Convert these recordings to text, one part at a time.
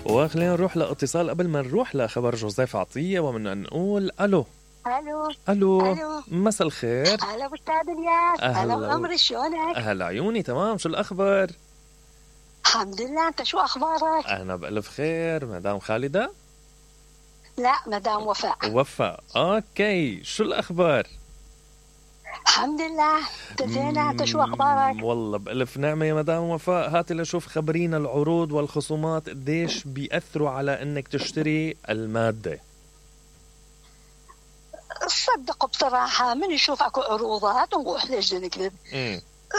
وخلينا نروح لاتصال قبل ما نروح لخبر جوزيف عطية، ومن نقول الو. الو مساء الخير. هلا استاذ الياس. هلا عمري، شلونك؟ هلا عيوني، تمام. شو الاخبار؟ الحمد لله، انت شو اخبارك؟ انا بألف خير. مدام خالدة؟ لا، مدام وفاء. اوكي، شو الاخبار؟ الحمد لله، تزينة. انت شو اخبارك؟ والله بألف نعمة يا مدام وفاء. هاتي لشوف، خبرينا العروض والخصومات قديش بيأثروا على انك تشتري المادة. صدق بصراحة من يشوف اكو عروضات ونروح ليش نكذب.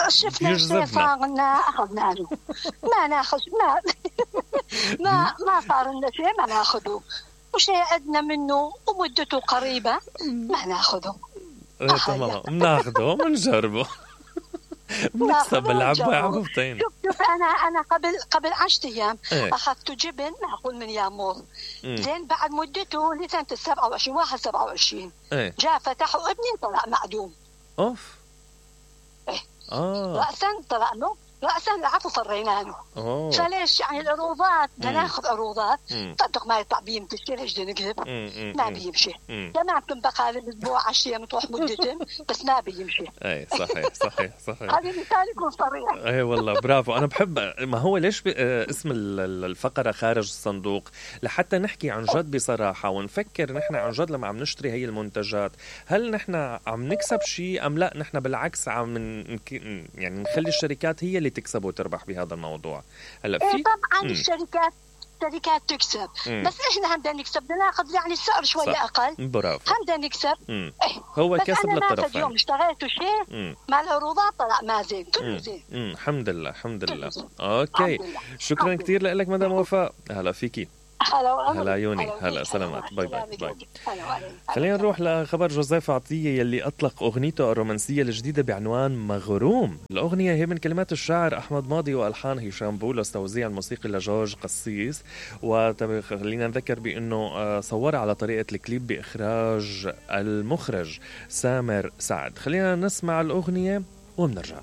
شفنا الشيء صار لنا اخذنا له. ما ناخذ ما صار لنا شيء ما ناخذه، وشيء عندنا منه ومدته قريبة ما ناخذه. تمام، بناخذه بنجربه. بنكسب العبة عبوتين. شوف انا قبل 10 ايام اخذت جبن معقول من يامور. زين بعد مدته لسنة 27 واحد 27 جاء فتحوا ابني طلع معدوم. اوف. رأسا طلع له رأسا العفو فرينا له. فليش يعني العروضات بدنا ناخذ عروضات صدق ما يطلع بيمشي. ليش نكذب؟ ما بيمشي. جماعة بقال الاسبوع 10 ايام تروح مدتهم بس ما بيمشي. اي صحيح. هذه مثال يكون صريح. اي والله برافو. انا بحب ما هو ليش اسم الفقرة خارج الصندوق، لحتى نحكي عن جد بصراحة ونفكر نحن عن جد لما عم نشتري هي المنتجات، هل نحن عم نكسب شيء ام لا نحن بالعكس عم يعني نخلي الشركات هي اللي تكسب وتربح بهذا الموضوع. هلا في طبعا الشركات تكسب بس احنا بدنا نكسب، بدنا ناخذ يعني السعر شويه اقل. برافو. بدنا نكسب. هو بس كسب أنا للطرفين. بس اليوم اشتغلت شيء مع العروضات طلع ما زين، كله زين. الحمد لله. اوكي، شكرا كثير لك مدام وفاء. هلا فيكي. هلا عيوني. هلا سلامات. باي. خلينا نروح لخبر جوزيف عطية يلي أطلق أغنيته الرومانسية الجديدة بعنوان مغروم. الأغنية هي من كلمات الشاعر أحمد ماضي وألحان هشام بولس، توزيع الموسيقي لجورج قسيس. وخلينا نذكر بأنه صور على طريقة الكليب بإخراج المخرج سامر سعد. خلينا نسمع الأغنية ومنرجع.